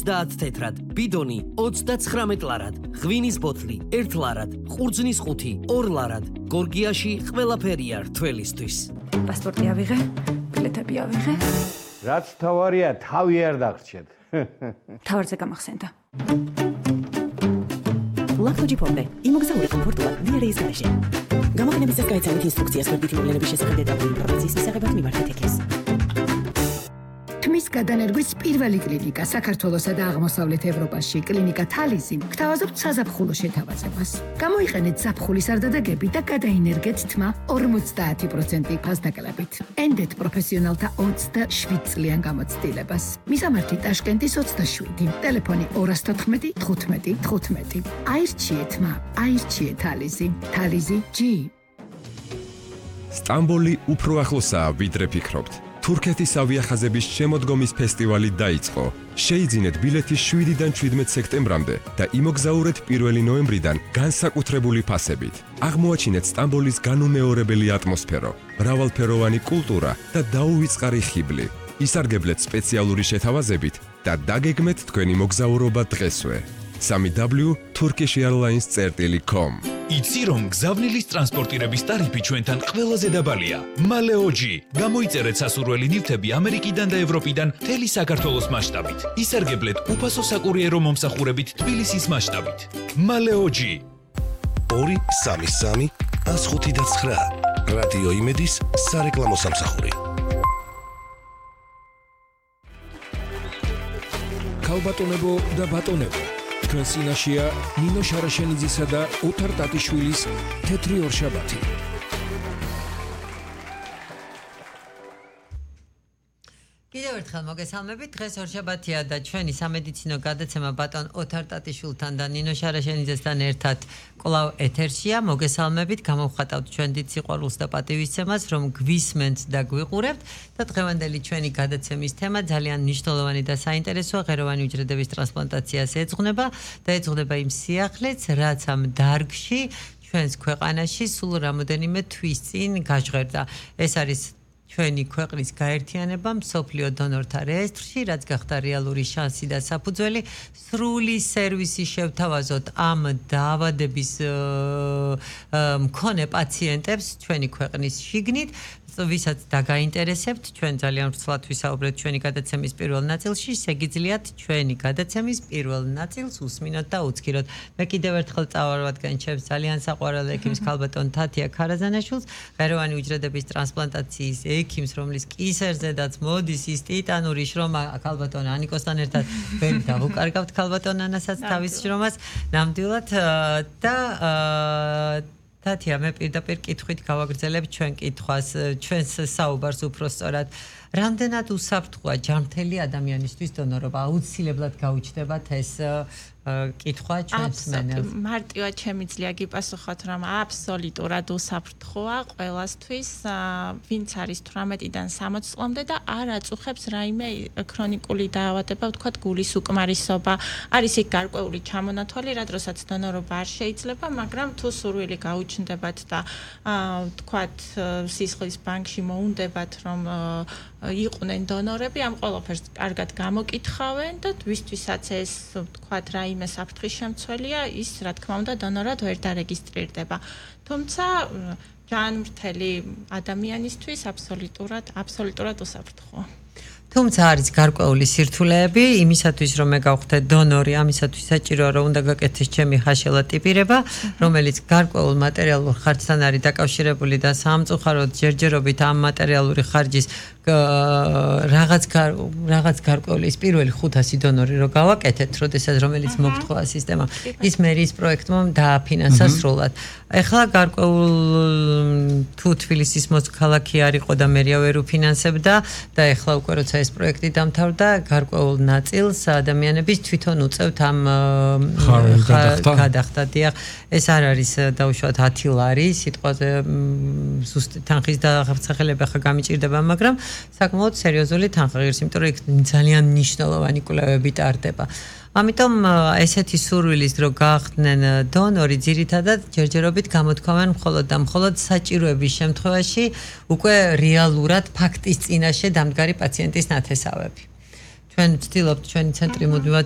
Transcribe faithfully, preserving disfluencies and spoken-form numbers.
ოცდაათ თეთრად, ბიდონი ოცდაცხრამეტ ლარად, ღვინის ბოთლი ერთ ლარად, ყურძნის ხუთი ორ ლარად. გორგიაში ყველაფერია რთველისთვის. პასპორტი ავიღე, ბილეთები ავიღე. რაც თავარია, თავი არ დაგრჩეთ. თავარზე გამახსენდა. ლაქთოჯი ფონდე, იმოგზაურე კომფორტულად დიარეის გარეშე. გამოყენებისას გაიცანით ინსტრუქციას გვერდითი მოვლენების შესახებ დეტალური ინფორმაციის მისაღებად მიმართეთ ეკეს. თმის გადანერგვის პირველი კლინიკა საქართველოსა და აღმოსავლეთ ევროპაში, კლინიკა თალიზი, გთავაზობთ საზაფხულო შეთავაზებას. გამოიყენეთ ზაფხულის არდადეგები და გადაინერგეთ თმა ორმოცდაათი პროცენტი ფასდაკლებით. ენდეთ პროფესიონალთა ოცდაშვიდ წლიან გამოცდილებას. მისამართი ტაშკენტის ოცდაშვიდი, ტელეფონი ორას თოთხმეტი თხუთმეტი თხუთმეტი. აირჩიეთ თმა, აირჩიეთ თალიზი. თალიზი ჯი. სტამბოლი უფრო ახლოსაა, ვიდრე ფიქრობთ. თურქეთის ავიახაზების შემოდგომის ფესტივალი დაიწყო. შეიძინეთ ბილეთი შვიდიდან ჩვიდმეტ სექტემბრამდე და იმოგზაურეთ პირველი ნოემბრიდან განსაკუთრებული ფასებით. აღმოაჩინეთ სტამბოლის განუმეორებელი ატმოსფერო, მრავალფეროვანი კულტურა და დაუვიწყარი ხიბლი. ისარგებლეთ სპეციალური შეთავაზებით და დაგეგმეთ თქვენი მოგზაურობა დღესვე. სამი დაბლიუ turkish airlines dot com. იცი რომ გზავნილის ტრანსპორტირების ტარიფი ჩვენთან ყველაზე დაბალია. მალეოჯი. გამოიწერეთ სასურველი ნივთები ამერიკიდან და ევროპიდან მთელი საქართველოს მასშტაბით. ისარგებლეთ უფასო საკურიერო მომსახურებით თბილისის მასშტაბით. მალეოჯი. ორი სამი სამი ას ხუთი და ცხრა. რადიო იმედის სარეკლამო სამსახური. ქალბატონებო და ბატონებო, თქვენ წინაშეა ნინო შარაშენიძისა და ოთარ ტატიშვილის თეთრი ორშაბათი. კიდევ ერთხელ მოგესალმებით. დღეს ორშაბათია და ჩვენი სამედიცინო გადაცემა ბატონ ოთარ ტატიშვილთან და ნინო შარაშენიძესთან ერთად კვლავ ეთერშია. მოგესალმებით, გამოვხატავთ ჩვენ დიდ სიყვარულს და პატივისცემას, რომ გვისმენთ და გვიყურებთ და დღევანდელი ჩვენი გადაცემის თემა ძალიან მნიშვნელოვანი და საინტერესოა. ღეროვანი უჯრედების ტრანსპლანტაციას ეძღვნება და ეძღვნება იმ სიახლეც, რაც ამ დარგში ჩვენს ქვეყანაში სულ რამოდენიმე თვის წინ გაჟღერდა. ეს არის ჩვენი ქვეყნის გაერთიანება მსოფლიო დონორთა რეესტრში, რაც გახდა რეალური შანსი და საფუძველი სრული სერვისი შევთავაზოთ ამ დაავადების მქონე პაციენტებს ჩვენი ქვეყნის შიგნით, ვისაც დაგაინტერესებთ, ჩვენ ძალიან ვრცლად ვისაუბრეთ ჩვენი გადაცემის პირველ ნაწილში, შეგიძლიათ ჩვენი გადაცემის პირველ ნაწილს უსმინოთ და უცქიროთ. მე კიდევ ერთხელ წავარვადგენ ჩემს ძალიან საყვარელ ექიმს ქალბატონ თათია ქარაზანაშვილს, ღეროვანი უჯრედების ტრანსპლანტაციის ექიმს, რომლის კისერზედაც მოდის ის ტიტანური შრომა ქალბატონ ანიკოსთან ერთად, ვერ დავუკარგავთ ქალბატონ ანასაც თავის შრომას, ნამდვილად და თათია, მე პირდაპირ კითხვით გავაგრძელებ ჩვენ კითხვას, ჩვენს საუბარს უფრო სწორად. რამდენად უსაფრთხოა ჯანმრთელი ადამიანისთვის დონორობა? აუცილებლად გაუჩნდებათ ეს კითხვა ჩვენს მენელს. მარტივად შემიძლია გიპასუხოთ, რომ აბსოლუტურად უსაფრთხოა ყველასთვის, ვინც არის თვრამეტიდან სამოცი წლამდე და არ აწუხებს რაიმე ქრონიკული დაავადება, ვთქვათ, გულის უკმარისობა. არის იქ გარკვეული ჩამონათვალი, რა დროსაც დონორობა არ შეიძლება, მაგრამ თუ სურვილი გაუჩნდებათ და ვთქვათ, სისხლის ბანკში მოუნდებათ, რომ იყვნენ დონორები, ამ ყველაფერს კარგად გამოკითხავენ და ვისთვისაც ეს ვთქვათ, რაიმე საფრთხის შემცველია, ის რა თქმა უნდა დონორად ვერ დარეგისტრირდება. თუმცა ჯანმრთელი ადამიანისთვის აბსოლუტურად, აბსოლუტურად უსაფრთხოა. თუმცა არის გარკვეული სირთულეები იმისათვის, რომ მე გავხდე დონორი, ამისათვის საჭიროა, რომ უნდა გაკეთდეს ჩემი ხაშელა ტიპირება, რომელიც გარკვეულ მატერიალურ ხარჯთან არის დაკავშირებული და სამწუხაროდ ჯერჯერობით ამ მატერიალური ხარჯის რაღაც რაღაც გარკვეული ის პირველი ხუთასი დონორი რო გავაკეთეთ, როდესაც რომელიც მოგთხოვა სისტემა, ის მერის პროექტმა დააფინანსა სრულად. ეხლა გარკვეულ თუ თბილისის მოქალაქე არ იყო და მერია ვერ უფინანსებდა და ეხლა უკვე როცა ეს პროექტი დამთავრდა, გარკვეულ ნაწილს ადამიანების თვითონ უწევთ ამ გადახდა. დიახ, ეს არ არის დაუშვათ ათი ლარი, სიტყვაზე ზუსტ თანხის დასახელება ხა გამიჭირდება, მაგრამ საკმაოდ სერიოზული თანხა ღირს, იმიტომ რომ იქ ძალიან მნიშვნელოვანი კვლევები ტარდება. ამიტომ ესეთი სურვილის დრო გახდნენ დონორი ძირითადად ჯერჯერობით გამოთქვამენ მხოლოდ და მხოლოდ საჭიროების შემთხვევაში უკვე რეალურად ფაქტის წინაშე დამდგარი პაციენტის ნათესავები. ჩვენ ვცდილობთ ჩვენი ცენტრი მუდმივად